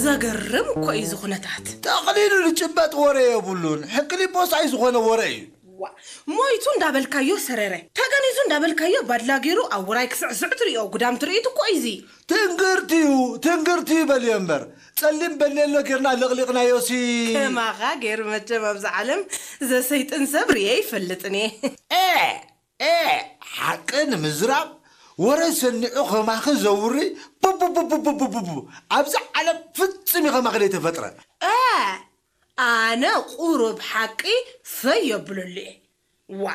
ዘገርም እኮ እዩ እዚ ኩነታት። ጠቕሊሉ ዝጭበጥ ወረ የብሉን። ሕቅሊቦስ ኣይዝኾነ ወረ እዩ። ዋ፣ ሞይቱ እንዳበልካዮ ሰረረ፣ ተገኒዙ እንዳበልካዮ ባድላ ገይሩ ኣብ ውራይ ክስዕስዕ ትርእዮ ጉዳም ትርኢት እኮ እዩ እዚ። ትንግርትዩ፣ ትንግርትዩ በልዮ እምበር። ጸሊም በሌሎ ጌርና ለቕሊቕናዮሲ። ከማኻ ገይሩ መቸም ኣብዚ ዓለም ዘሰይጥን ሰብ ርእየ ይፈልጥን እየ። ኤ፣ ኤ፣ ሓቂ ንምዝራብ ወረ ሰኒዑ ከማኺ ዘውሪ ቡቡቡቡቡቡቡ። ኣብዚ ዓለም ፍጹም እዩ ከማኺ ዘይተፈጥረ። እ፣ ኣነ ቁሩብ ሓቂ ፈይ የብለሉ እየ። ዋ፣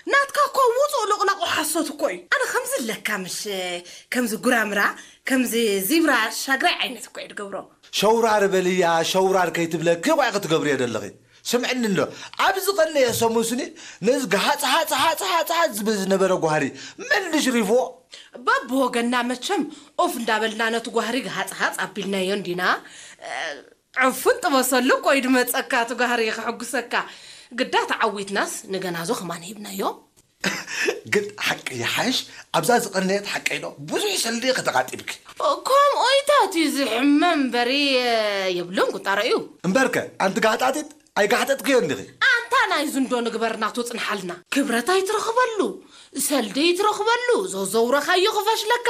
ናትካ እኮ ውጹእ ሎቕላቑ ሓሶት እኮ እዩ። ኣነ ከምዚ ኣለካ ምሽ፣ ከምዚ ጉራምራ፣ ከምዚ ዚብራ ሻግራይ ዓይነት እኮ እየ ድገብሮ። ሸውራር በልያ፣ ሸውራር ከይትብለኪ እኮ ኢኺ ትገብርዮ ዘለኺ። ስምዕኒ እንዶ፣ ኣብዚ ቀነየ ሰሙን ስኒ ነዚ ግሃጽ ሃጽ ሃጽ ሃጽ ሃጽ ዝብል ዝነበረ ጓህሪ መን ድሽሪፍዎ? በብወገንና መቸም ኦፍ እንዳበልና ነቲ ጓህሪ ግሃጽ ሃጽ ኣቢልናዮ እንዲና። እ፣ ዕፉን ጥበሰሉ እኮ እዩ ድመጸካ፣ እቲ ጓህሪ ከሐጉሰካ። ግዳ ተዓዊትናስ ንገናዞ ከማን ሂብናዮ። ግን ሓቂ ይሓይሽ፣ ኣብዛ ዝቐነየት ሓቀይ ዶ ብዙሕ ሰልዲ ከተቓጢብኪ። ከምኡ ኢታት እዩ ዝሕመ እምበሪ የብሉን ቁጣሮ እዩ። እምበርከ፣ ኣንቲ ጋሕጣጢት፣ ኣይጋሕጠጥክዮ እንዲኺ። ኣንታ ናይ ዝንዶ ንግበር ናቱ ጽንሓልና። ክብረት ኣይትረኽበሉ፣ ሰልዲ ኣይትረኽበሉ፣ ዘዘውረኻዮ ክፈሽለካ።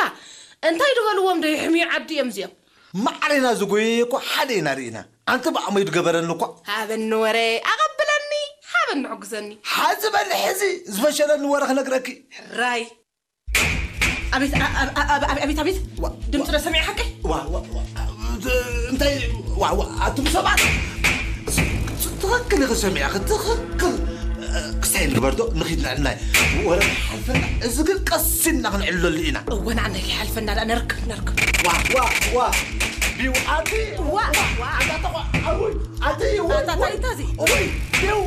እንታይ ድበልዎም ዶ ይሕምዩ ዓዲ እዮም እዚኦም? ማዕሬና ዝጎየየ እኮ ሓደ ኢና ርኢና። ኣንቲ ብዓመይ ድገበረኒ እኮ። ሃበኒ ወረ፣ ኣቐብለኒ፣ ሃበኒ ሕጉሰኒ። ሓዚ በሊ ሕዚ ዝፈሸለኒ ወረ ክነግረኪ። ራይ። ኣቤት፣ ኣ-፣ ኣ-፣ ኣ-፣ ኣ-፣ ኣቤት፣ ኣቤት። ዋ፣ ድምፂ ዋ። ዶ ሰሚዐ ሓቀይ? ዋ፣ ዋ፣ ዋ፣ እንታይ፣ ዋ፣ ዋ፣ ኣቱም ሰባት። ትኽክል ኢኺ ሰሚዐኺ፣ ትኽክል። ክስታይ ንግበር ዶ? ንኺድ ንዕናይ። ወረ ሓልፈና፣ እዚ ግን ቀስ ኢልና ክንዕለሉ ኢና። እወ፣ ንዓና ከይሓልፈና ደኣ ነርክብ፣ ነርክብ። ዋ፣ ዋ፣ ዋ። ቢው ኣቲ። ዋ፣ ዋ። ኣታ ተቋ-፣ ኣውይ፣ ኣቲ፣ ውይ፣ ኣታ ውይ። እንታይ እዚ? ውይ፣ ቢው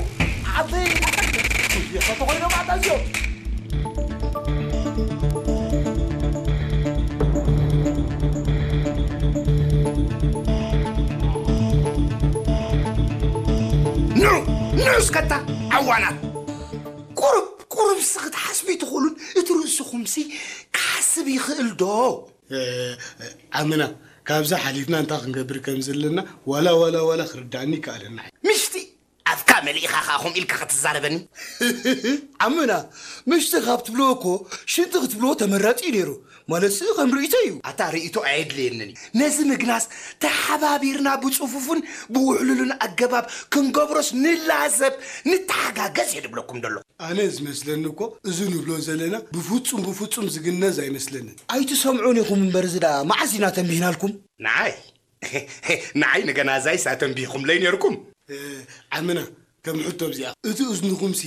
ኣቲ። እየ፣ ተተኾይኖም ኣታ እዚኦም። ኑ፣ ኑ እስከ እታ ዓዋናት። ቁሩብ፣ ቁሩብሲ ክትሓስቡ ኣይትኽእሉን? እቲ ርእስኹምሲ ክሓስብ ይኽእል ዶ? እ፣ ዓምና፣ ካብዚ ሓሊፍና እንታይ ክንገብር ከም ዘለና ዋላ፣ ዋላ፣ ዋላ ክርዳእኒ ይከኣለና። ምሽቲ ኣፍካ መሊእኻ ኸኣ ከምኡ ኢልካ ክትዛረበኒ? ዓምና፣ ምሽቲ ካብ ትብልዎ እኮ ሽንቲ ክትብልዎ ተመራጺ እዩ ነይሩ። ማለትሲ ከም ርእይቶ እዩ። ኣታ ርእይቶ ኣየድልየንን እዩ። ነዚ ምግናስ ተሓባቢርና ብጽፉፍን ብውሕሉልን ኣገባብ ክንገብሮስ ንላዘብ፣ ንተሓጋገዝ እየ ድብለኩም ደሎ። ኣነ ዝመስለኒ እኮ እዚ ንብሎ ዘለና ብፍጹም፣ ብፍጹም ዝግነዝ ኣይመስለንን። ኣይትሰምዑን ኢኹም እምበር እዚ ደኣ መዓስ ኢና ተንቢህናልኩም? ንዓይ? ንዓይ ንገናዛይስ ኣተንቢህኩምለይ ነይርኩም። እ፣ ዓምና፣ ከም ሕቶ እዚኣ፣ እቲ እዝንኹምሲ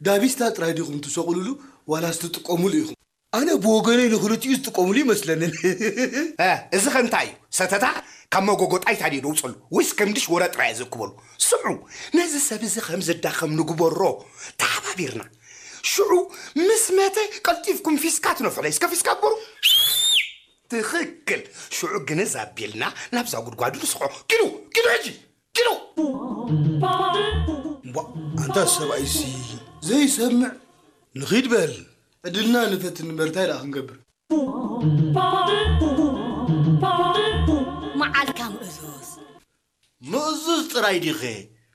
ዳቢስታ ጥራይ ዲኹም ትሰቕሉሉ ዋላስ ትጥቀሙሉ ኢኹም? ኣነ ብወገነይ ንኽልቲኡ ዝጥቀሙሉ ይመስለንን። እ፣ እዚ ኸ እንታይ እዩ? ሰተታ ካብ መጎጎ ጣይታ ድዩ ደውፅሉ? ወይስ ከም ድሽ ወረ ጥራይ ዘእክበሉ? ስምዑ፣ ነዚ ሰብ እዚ ከም ዝዳኸም ንግበሮ ተሓባቢርና። ሽዑ ምስ መተ ቀልጢፍኩም ፊስካ ትነፍሑ። እስከ ፊስካ ግበሩ። ትኽክል። ሽዑ ግንዝ ኣቢልና ናብዛ ጉድጓዱ ንስሖ። ኪዱ፣ ኪዱ ሕጂ፣ ኪዱ። እምቧ፣ ኣንታ ሰብኣይሲ ዘይሰምዕ። ንኺድ በል። ዕድልና ንፈትን እምበር እንታይ ደኣ ክንገብር? መዓልካ ምእዙዝ። ምእዙዝ ጥራይ ዲኸ?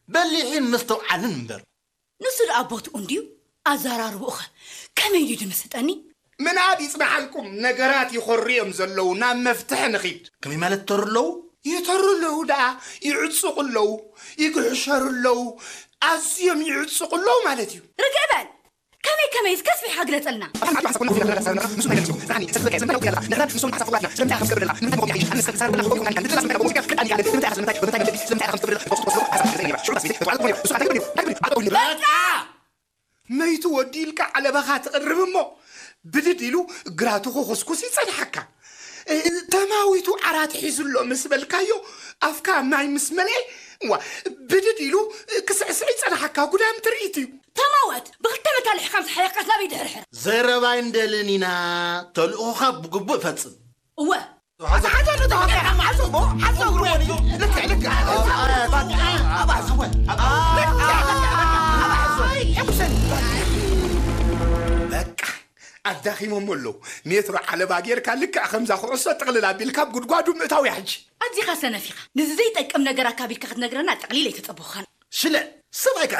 በሊሕን ምስትውዓልን እምበር። ንሱ ደኣ ቦትኡ እንድዩ፣ ኣዘራርብኡኸ ከመይ ድዩ ድምስጠኒ? ምናብ ይጽናሓልኩም፣ ነገራት ይኸሩ እዮም ዘለዉ፣ ናብ መፍትሒ ንኺድ። ከመይ ማለት ይተሩ ኣለዉ? ይተሩ ኣለዉ ደኣ፣ ይዕጽቑ ኣለዉ፣ ይግሕሸሩ ኣለዉ፣ ኣዝዮም ይዕጽቑ ኣለዉ ማለት እዩ። ርግእ በል! ከመይ ከመይስ ከስቢሕካ ግለጸልና። በቃ! መይቱ ወዲ ኢልካ ዓለባኻ ትቕርብ እሞ፣ ብድድ ኢሉ ግራቱ ክኹስኩስ ይጸንሓካ። ተማዊቱ ዓራት ሒዙ ኣሎ ምስ በልካዮ፣ ኣፍካ ማይ ምስ መልኤ፣ ዋ፣ ብድድ ኢሉ ክስዕስዕ ይጸንሓካ። ጉዳም ትርኢት እዩ። ተማወት፣ ብኽልተ መታልሕካ ምስ ሓለፍካስ ናበይ ድሕርሕር? ዘረባ ኣይንደልን ኢና። ተልእኾኻ ብግቡእ ፈጽም። እወ። ሓዞ፣ ሓዞ፣ ሓዞ፣ ሓዞ፣ እግሩ ወዲኡ። ልክዕ፣ ልክዕ። ኣባሕዝወ። ልክዕ፣ ልክዕ። ኣባሕዝወ። ሕጉሰኒ። በቃ። ኣዳኺሞሞ ኣለዉ። ሜትሮ ዓለባ ጌርካ ልክዕ ከምዛ ኩዕሶ ጥቕልል ኣቢልካ ኣብ ጉድጓዱ ምእታው እያ ሕጂ። ኣዚኻ ሰነፍ ኢኻ። ንዚ ዘይጠቅም ነገር ኣካቢድካ ክትነግረና ጠቕሊል ኣይተጸበኹኻን። ሽለ፣ ሰብ ኣይካ